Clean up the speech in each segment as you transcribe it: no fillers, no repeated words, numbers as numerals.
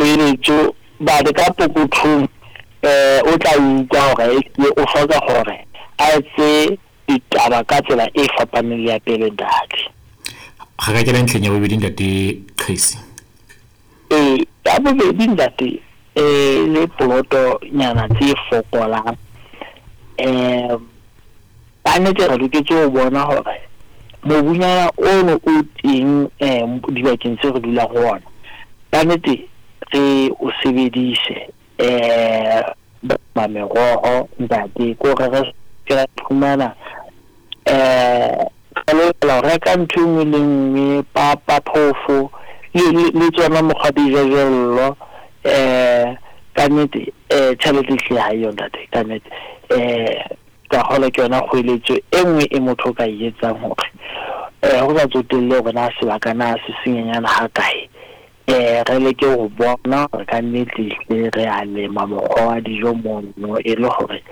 Kgoeletso bale ka pokothong o tla utlwa hore ehlile o hloka hore a etse ditaba ka tsela e fapaneng le ya pele ntate. Re ka kena ntlheng ya bobedi ntate Qhesi. Ee, ya bobedi ntate le poloto nyana tse fokolang ka nnete re loketse ho bona hore mobunyana ono o teng dibakeng tse re dulang ho ona, ka nnete re o sebedise meroho ntate ko re re ke ra iphumana re lokela ho reka ntho e nngwe le nngwe, papa, phofo le tsona mokgwa dijojello ka nnete tjhelete ehlile ha eyo ntate ka nnete. Ka kgolwa ke yona kgoeletso e nngwe e motho o ka e etsang hore ho sa tsotelle hore na sebaka na se senyenyana ha kae, re leke ho bona hore ka nnete ehlile re a lema mokgwa wa dijo mono e le hore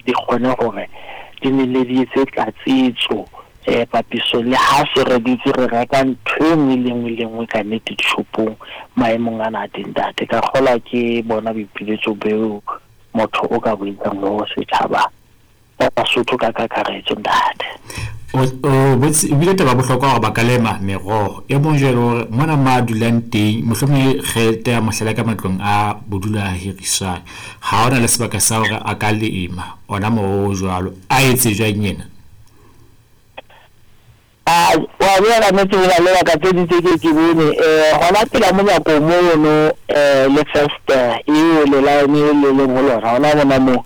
di kgone hore di nenne di etse tlatsetso papisong le ha se re dutse re reka ntho e nngwe le nngwe le nngwe ka nnete dishopong maemong ana a teng ntate. Ka kgolwa ke bona boipiletso beo motho o ka bo etsang ho setjhaba sa Basotho ka kakaretso ntate. O o bile taba bohlokwa hore ba ka lema meroho. E mong jwale hore mona mo a dulang teng, mohlomong re tea mohlala ka matlong a bodulo a hiriswang. Ha hona le sebaka sa hore a ka lema ona moroho o jwalo. A etse jwang yena? A wa tseba ka nnete ho na le baka tse ding tse ke ke bone hona pela monyako mono le festere eo le line le leng ho lona hona mona moo.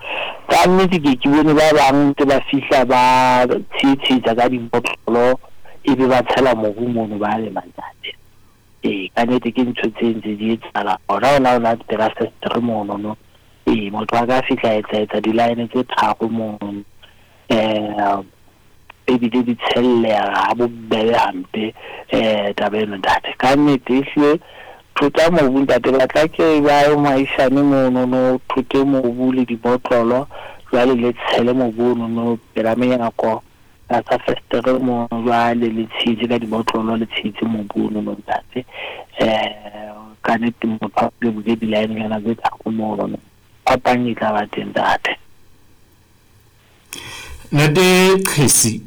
Ka nnete ke ke bone ba bang ntse ba fihla ba tshetshetsha ka dibotlolo ebe ba tshela mobu mono ba lema ntate. Ee, ka nnete ke ntho tse ntse di etsahala hona hona hona pela festere mono no. Ee, motho a ka fihla a etsa etsa di-line tse tharo mono ebile di tshelleha ha bobebe hampe taba eno ntate. Ka nnete ehlile thota mobu ntate, batla ke ba moahisane mono no thote mobu le dibotlolo, jwale le tshele mobu ono no pela menyako tlasa festere mono, jwale le tshehetse ka dibotlolo, le tshehetse mobu ono no ntate. Ka nnete motho a bule di-line-nyana tse tharo mono, phapang e tla ba teng ntate. Ntate Qhesi,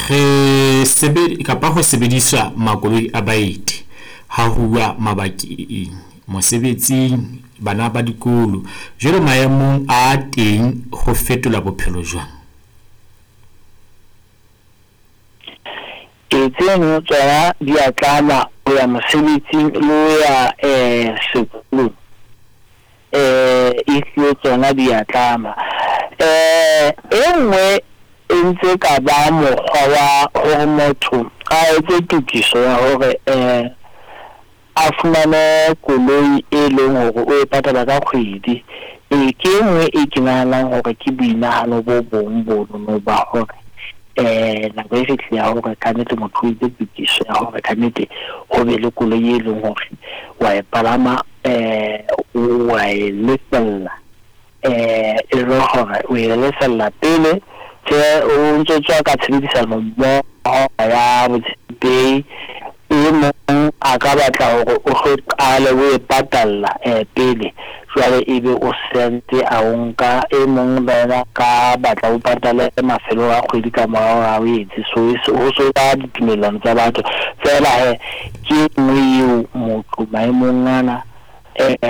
re sebe kapa ho sebediswa makoloi a baeti ha huwa mabakeng, mosebetsing, bana ba dikolo. Jwale maemong a teng ho fetola bophelo jwang? Ee, tseno tsona di a tlama ho ya mosebetsing le ho ya sekolong. Ehlile tsona di a tlama. E nngwe e ntse ka ba mokgwa wa hore motho a etse tokiso ya hore a fumane koloi e leng hore o e patala ka kgwedi. Ee, ke e nngwe e ke nahanang hore ke boinahano bo bong bonono ba hore nako e fihlile ya hore ka nnete motho o etse tokiso ya hore ka nnete ho be le koloi e leng hore wa e palama wa e lefella e le hore o e lefella pele tje o ntso tswa ka tshebedisano mmoho ya botshepehi. E mong a ka batla hore o hlo qale o e patalla pele, jwale ebe o sentse a o nka. E mong le yena a ka batla o patale mafelong a kgwedi ka mora hore a o etse. So ho so ba ditumellano tsa batho feela hee, ke e nngwe eo motho maemong ana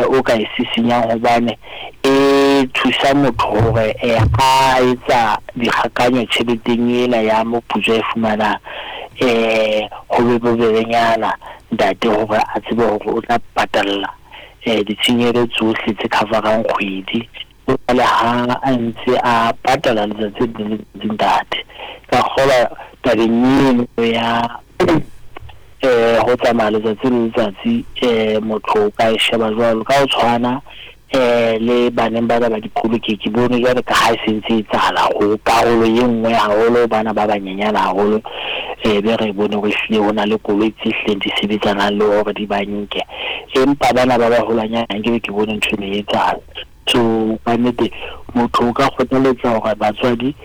o ka e sisinyang hobane e thusa motho hore ha etsa dikgakanyo tjheleteng ena ya moputso a e fumanang ho be bobebenyana ntate hore a tsebe hore o tla patalla ditshenyehelo tsohle tse cover-ang kgwedi. Jwale ha a ntse a patala letsatsi le letsatsi ntate, ka kgolwa tabeng eno ya ho tsamaya letsatsi le letsatsi motho o ka e sheba jwalo ka ho tshwana le baneng bana ba dikolo. Ke bone jwale ka ha e se ntse e etsahala ho karolo e nngwe haholo bana ba banyenyana haholo be re bone hore ehlile ho na le koloi tse hlileng di sebetsanang le hore di ba nke, empa bana ba baholwanyane nkebe ke bone ntho eno e etsahala. So ka nnete motho o ka kgothaletsa hore batswadi